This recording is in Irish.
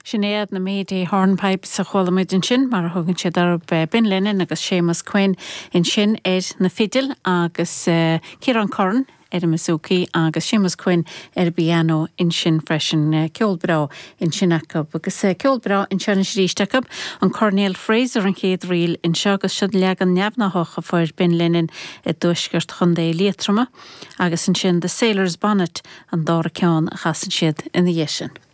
Sin iad na Mayday Hornpipes a chuala muid ansin, mar a thugann siad orthu, Ben Lennon agus Séamus Quinn ansin ar na fidil agus Ciarán Curran ar an mbouzouki agus Séamus Quinn ar an bpianó ansin freisin. Ceol breá ansin acu. Agus ceol breá anseo anois arís acu, an Coirnéal Fraser an chéad ríl anseo agus seo leagan neamhghnáthach a fuair Ben Lennon i dtuaisceart Chontae Liatroma agus ansin The Sailor's Bonnet an dara ceann a chasann siad ina dhiaidh sin.